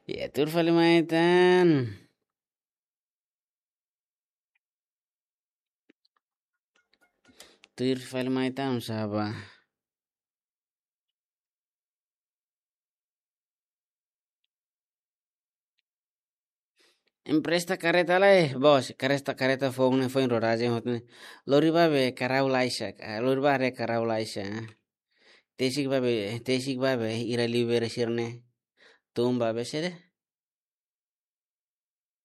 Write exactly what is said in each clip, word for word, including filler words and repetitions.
Ya, tuir fali mai tan. Tuir fali mai tan, sá ba. Empresta kareta lai, bos. Kareta, kareta foun ne'e foin rodajen hotu ne'e. Lori ba be karau laisa, ah, lori ba haree karau laisa. Tesik ba be, tesik ba be, ira liu bere sira-ne'e. Tun ba be sede.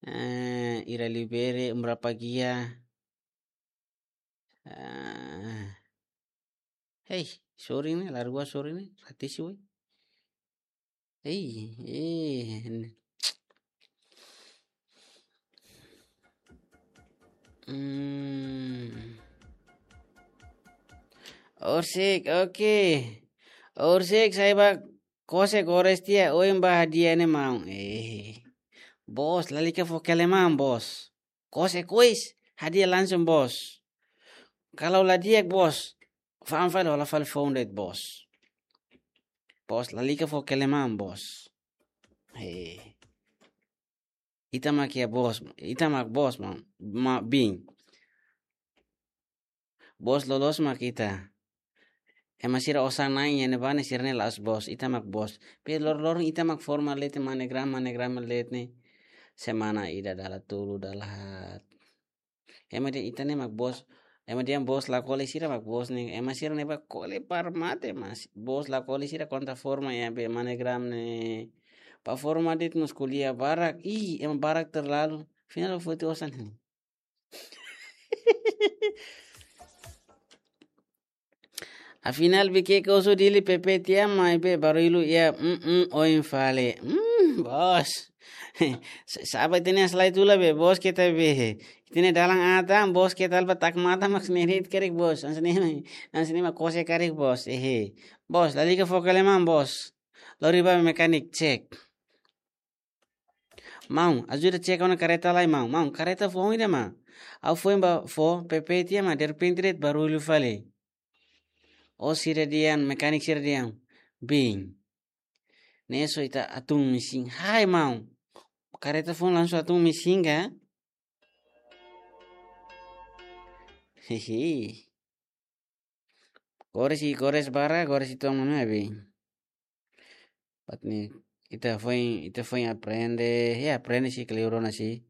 Eh, ira liu bere, umra pagia. Ah. Hei, sorry ne'e, largua sorry ne'e, ratisi woi. Hei, eh. Hmm. Horisehik, oke. Horisehik, sa'e ba kose kores tiha, oin ba hadi'a ne'e maun. Eh. Bos, lalika fó kele maun, bos. Kose kois, hadi'a langsung, bos. Kalau la di'ak, bos, fa'an fali, hola fali foun de'it, bos. Bos, lalika fó kele maun, bos. He. Ita mak iha bos, ita mak bos, ma, ma bin. Bos loloos mak ita. Ema sira osan-na'in iha ne'ebá ne'e sira-ne'e la'ós bos, ita mak bos. Pe lor-, loron ita mak forma de'it, MoneyGram, MoneyGram de'it ne'e. Semana ida dala tolu, dala haat. Ema dehan ita ne'e mak bos. Ema dehan bos la kole, sira mak bos ne'e. Ema sira-ne'e ba kole para mate, mas bos la kole, sira konta forma iha be MoneyGram ne'e. Ba forma de'it mós ko'alia barak. Ih, ema barak terlalu. Afinál foti osan ne'e. Afinál be ke koso Dili, PP tiha, maibé barullu iha, mm, mm, oin fali. Mm, bos. Sa-, sa'e ba ita-nia aslai tula be, bos keta be. Ita-nia dalan atan, bos keta alba tak mata mak snerit karik bos. Hanesan ne'e, hanesan ne'e mak kose karik bos. Ehe. Bos, lalika fó kele maun, bos. Lori ba mekanik cek. Maun, ajuda cek ona kareta lai, maun. Maun, kareta foun ida, maun. Ha'u foin ba fó, PP tiha, maun, derrepente de'it barullu fali. Ó sira dehan, mekanik sira dehan. Bin. Ne'e só ita atun mesin. Hai, maun. Kareta foun langsung atun mesin ka? Hehe. Kores i kores barak, kores i tong mame abi. Pat ni, ita foin, ita foin aprende, ya aprende sih, keliru ona sih.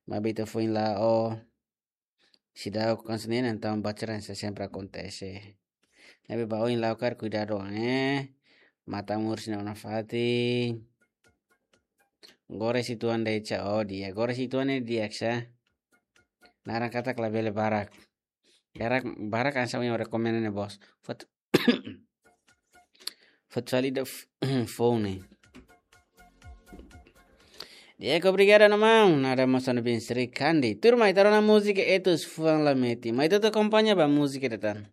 Maibé ita foin la'o. Seidauk hanesan ne'e, entaun baceran se sempre akontese. Ne'ebé ba oin la'o karik kuidadu, eh. Matan moris ne'e ona fatin. Kores i tong de'it sá, oh di'ak. Kores i tong ne'e di'ak sá. Naran katak labele barak. Barak, barak hanesan yang rekomenda ne'e, bos. Fot-, fot fali ida f-, foun ne'e. Di'ak, obrigadu ona maun. Nada mós ona bin Sri Kandi. Turma, ita rona múzika Etus Fuan Lameti. Mai ita atu akompaña ba múzika ida tan.